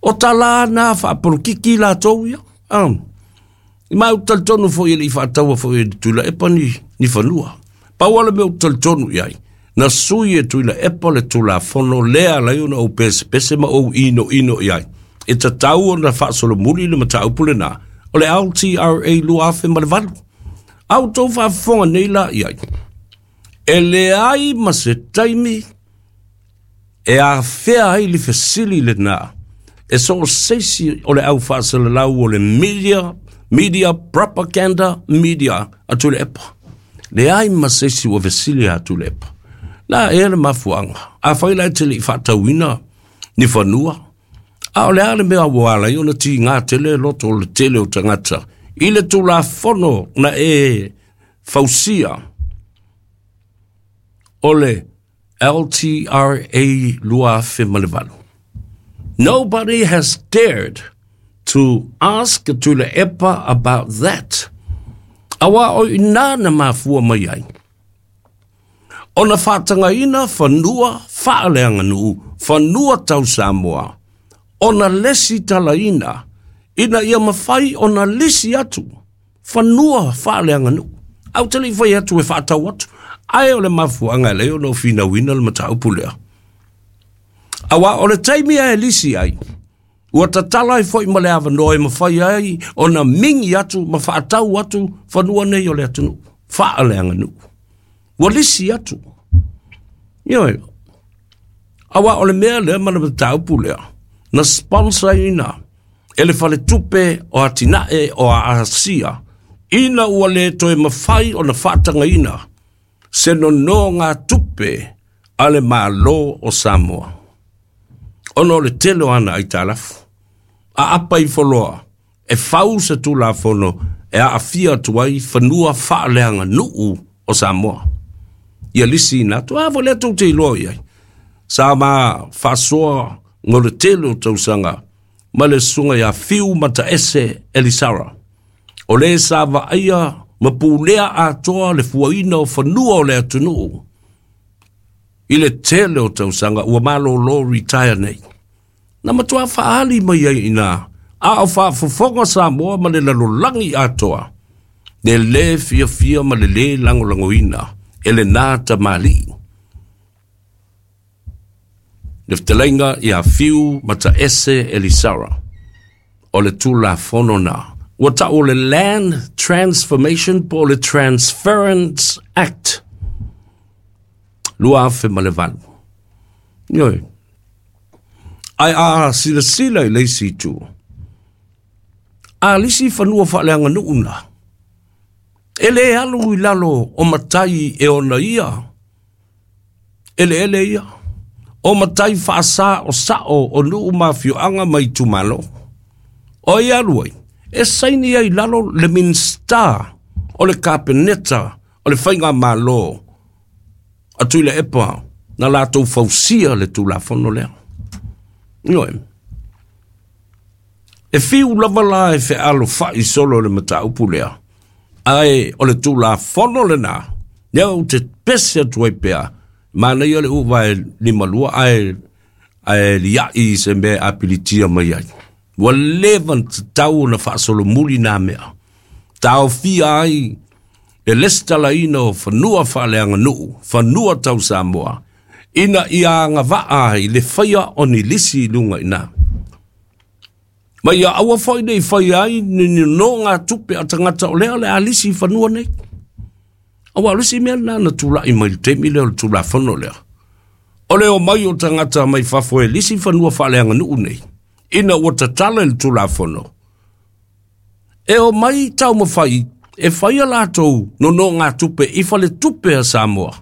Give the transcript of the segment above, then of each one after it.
O tala na faapolokiki latou ia. Ma ou te talitonu foi e le i faataua foi e Tuilaepa ni fanua. Pau lava le mea ou te talitonu i ai, na sui e Tuilaepa le Tulafono lea ala ai ona ou pesepese ma ou inoino i ai. E tatau ona faasolomuli le mataupu lena, o le LTRA 2008. A outou faafofoga nei la i ai, e leai ma se taimi e afea ai le fesili lena e so o se isi o le au faasalalau o le media, media propaganda media a Tuilaepa. Leai ma se isi ua fesili a Tuilaepa. La ea le mafuaaga, afai la e te le i faatauina ni fanua, a o le a le mea ua ala ai ona tiga tele loto o le tele o tagata i le Tulafono na e fausia o le LTRA 2008. Nobody has dared to ask Tuilaepa about that. Aua o i ina na mafua mai ai ona faatagaina fanua faaleaganuu, fanua tau Samoa, ona lesitalaina ina ia mafai ona lisi atu fanua faaleaganuu. Ae ou te le i fai atu e faatau atu, ae o le mafuaaga e lei ona ou finauina le mataupu lea. Aua o le taimi e lisi ai, ua tatala ai foi ma le avanoa e mafai ai ona mingi atu ma faatau atu fanua nei o le atunuu faaleaganuu. Ua lisi atu. Ioe. Aua o le mea lea ma le mataupu lea, na sponsor ina e le Faletupe o Atinae o Asia, ina ua le toe mafai ona faatagaina se nonogatupe a le Malo o Samoa, ona o le tele o ana aitalafu. Aapa ifo loa e fau se Tulafono e aafia atu ai fanua faaleaganuu o Samoa. Ia lisiina atu, a foi lea tou te iloa i ai. Sa ma faasoa mo le tele o tausaga ma le susuga ia Fiu Mataese Elisara, o le sa vaaia ma pulea atoa le fuaina o fanua o le atunuu i le tele o tausaga ua malolo retire nei. Na matua faaali mai ai i ina, a o faafofoga Samoa ma le lalolagi atoa, le lē fiafia ma le lē lagolagoina e lena tamalii. Le fetalaiga ia Fiu Mataese Elisara, o le Tulafono na ua tau o le Land Transformation po o le Transference Act 2008. Ioe. Ae a silasila i le isi itu, a lisi fanua faaleaganuu na, e lē alu i lalo o matai e ona ia eleele ia, o matai faasā o sao o nuu ma afioaga ma itumalo. O ai e alu ai? E saini ai i lalo le Minisita o le Kapeneta o le Faigamalo a Tuilaepa na latou fausia le Tulafono lea. Ioe. E fiu lava la e fealofai solo le mataupu lea, ae o le Tulafono lena, lea ou te pese atu ai pea, manaia le uva e limalua ae ae liai i se mea e apilitia mai ai. Ua leva ona tatau ona faasolomuli nā mea. Taofia ai le lesitalaina o fanua faaleaganuu, fanua tau Samoa, ina ia agavaa ai le faia o ni lisi i luga i ina. Ma ia aua foi ne i faia ai ni nonogatupe a tagata o lea o le a lisi i fanua nei. Aua o le isi mea lena na tulai mai i le taimi lea o le Tulafono lea, o le omai o tagata mai fafo e lisi fanua faaleaganuu nei, ina ua tatala i le Tulafono, e omai taumafai e fai a latou nonogatupe i faletupe a Samoa,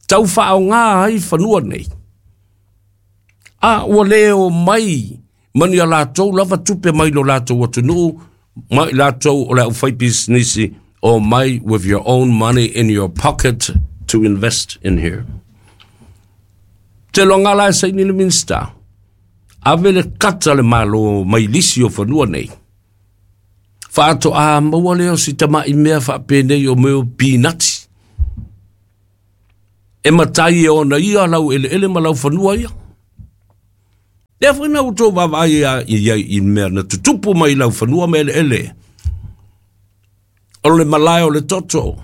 tau faaaoga ai fanua nei. A ua le omai ma ni a latou lava tupe mai lo latou atunuu, ma i latou o le aufaipisinisi, omai with your own money in your pocket to invest in here. Te loa la e saini le Minista, ave le kata le Malo mai lisi o fanua nei. Faatoa maua lea o si tamai mea faapenei o mea o pinati. E matai e ona ia lau eleele ma lau fanua ia. Lea foi na outou vaavaai i ai i mea na tutupu mai i laufanua ma eleele o le malae o le toto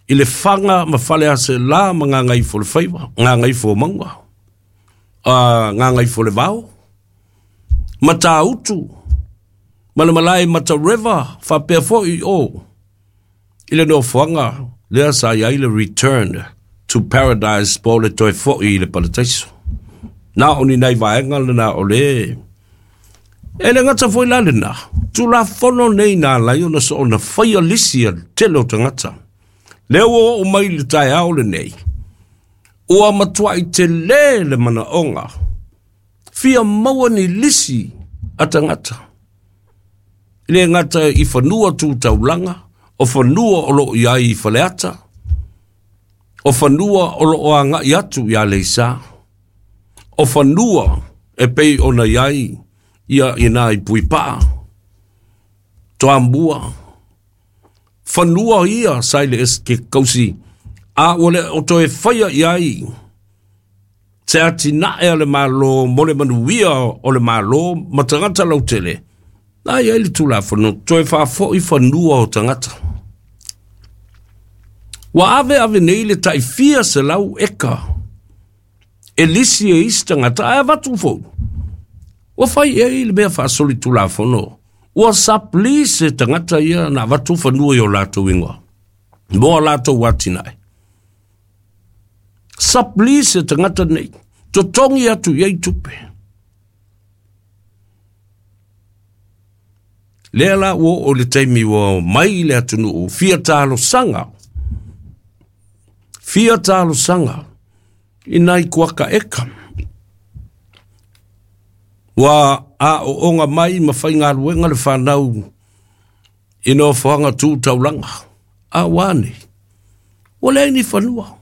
i le Faga ma Faleaseela ma Gagaifoolefaiva, Gagaifoomauga, Gagaifoolevao, Matautu, ma le malae i Mata River, faapea foi o i le nofoaga lea sa i ai le Return to Paradise po o le toe foi i le Parataiso. Na o ni nai vaega lena o le E le gata foi la lena, Tulafono nei na ala ai ona soona faia lisi a le tele o tagata. Lea ua oo mai i le taeao lenei, ua matuai tele le manaoga fia maua ni lisi a tagata. E le gata i fanua tu taulaga, o fanua o lo o i ai i Faleata, o fanua o lo o agai atu i Aleisa, o fanua e pei ona i ai ia i nā i Puipaa, Toamua, fanua ia sa i le Esetete Tausi, a ua le o toe faia i ai se atinae a le Malo mo le manuia o le Malo ma tagata lautele, na i ai le Tulafono toe faafoi fanua o tagata. Ua ave ave nei le tai fia 100 eka e lisi e isi tagata ae avatu foi. Ua fai i ai le mea faasolitulafono. Ua sublease e tagata ia na avatu fanua i o latou ingoa mo a latou atinae. Sublease e tagata nei, totogi atu i ai tupe. Lea la ua oo i le taimi ua omai i le atunuu fia talosaga, fia talosaga i nai kuaka eka. Ua aooga mai ma faigaluega le fanau i nofoaga tu taulaga. A ua nei? Ua leai ni fanua.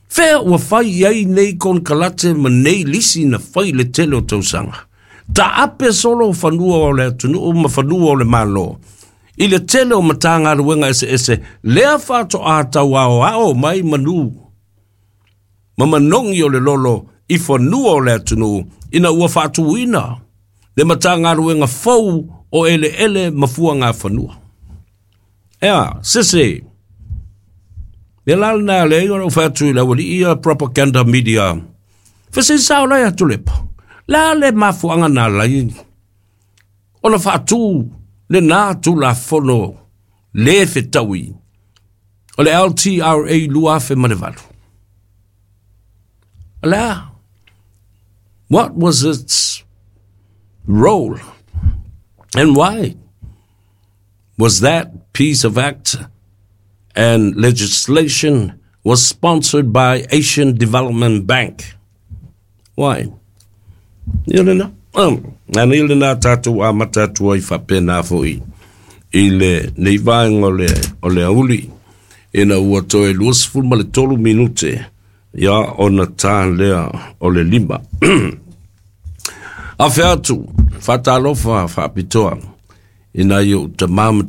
Fea ua fai i ai nei konekarate ma nei lisi na fai i le tele o tausaga? Taape solo fanua o le atunuu ma fanua o le Malo i le tele o Matagaluega eseese lea faatoa tauaoao mai manu ma manogi o le lolo i fanua o le atunuu ina ua faatuina le Matagaluega fou o Eleele ma Fuagafanua. Ea, sese! Mea la lena leai ona ou fai atu i le aualii ia propaganda media. Fesili sao lai a Tuilaepa. Le a le mafuaaga na ala ai ona faatu lena Tulafono le fetaui o le LTRA 2008? O le a? What was its role and why was that piece of act and legislation was sponsored by Asian Development Bank? Why? Ia lena. Ana ia lena tatou amata atu ai faapena foi i le nei vaega o le, o le auli ina ua toe 23 minute ia ona tā lea o le 5. Afe atu, faatalofa faapitoa i nai ou tama ma.